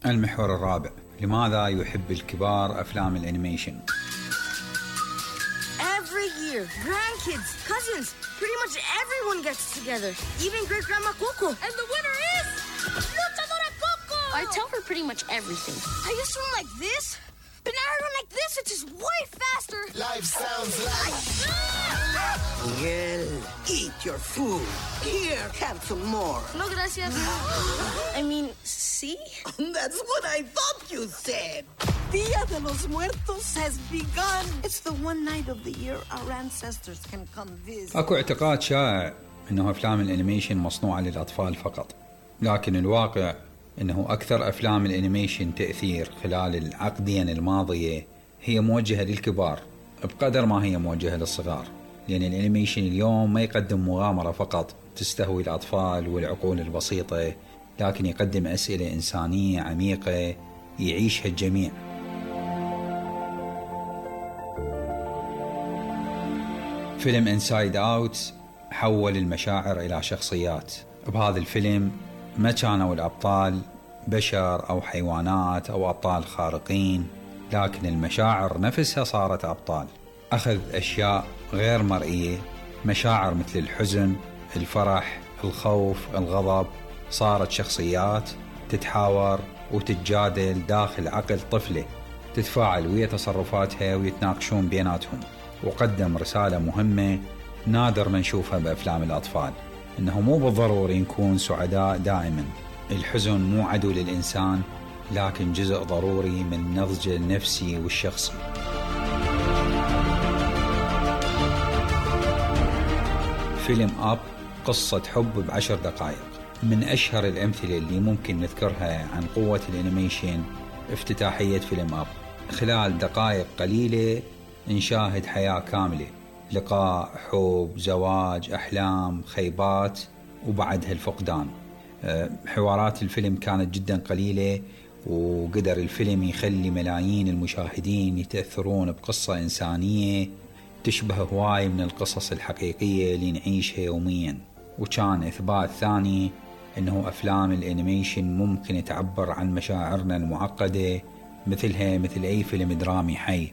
المحور الرابع: لماذا يحب الكبار أفلام الأنيميشن؟ Every year, grandkids, cousins, pretty much everyone gets together. Even great-grandma Coco. And the winner is... Luchadora Coco! I tell her pretty much everything. I used to run like this, but now I run like this. It's just way faster. Life sounds like... Miguel, eat your food. Here, have some more. No, gracias. I mean, see? That's what I thought you said. Dia de los Muertos has begun. It's the one night of the year our ancestors can come visit. أكو اعتقاد شائع أنه أفلام الأنيميشن مصنوعة للأطفال فقط، لكن الواقع أنه أكثر أفلام الأنيميشن تأثير خلال العقدين الماضية هي موجهة للكبار بقدر ما هي موجهة للصغار، لأن الأنيميشن اليوم ما يقدم مغامرة فقط تستهوي الأطفال والعقول البسيطة، لكن يقدم أسئلة إنسانية عميقة يعيشها الجميع. فيلم إنسايد أوت حول المشاعر إلى شخصيات. بهذا الفيلم ما كانوا الأبطال بشر أو حيوانات أو أبطال خارقين، لكن المشاعر نفسها صارت أبطال. أخذ أشياء غير مرئية، مشاعر مثل الحزن، الفرح، الخوف، الغضب، صارت شخصيات تتحاور وتتجادل داخل عقل طفلة، تتفاعل ويا تصرفاتها ويتناقشون بيناتهم. وقدم رسالة مهمة نادر ما نشوفها بأفلام الأطفال، إنه مو بالضروري نكون سعداء دائما. الحزن مو عدو للإنسان، لكن جزء ضروري من نضجه النفسي والشخصي. فيلم أب قصة حب ب10 دقائق، من أشهر الأمثلة اللي ممكن نذكرها عن قوة الأنيميشن افتتاحية فيلم أب. خلال دقائق قليلة نشاهد حياة كاملة، لقاء، حب، زواج، أحلام، خيبات، وبعدها الفقدان. حوارات الفيلم كانت جدا قليلة، وقدر الفيلم يخلي ملايين المشاهدين يتأثرون بقصة إنسانية تشبه هواي من القصص الحقيقية اللي نعيشها يوميا. وكان إثبات ثاني أنه أفلام الأنيميشن ممكن تعبر عن مشاعرنا المعقدة مثل أي فيلم درامي حي.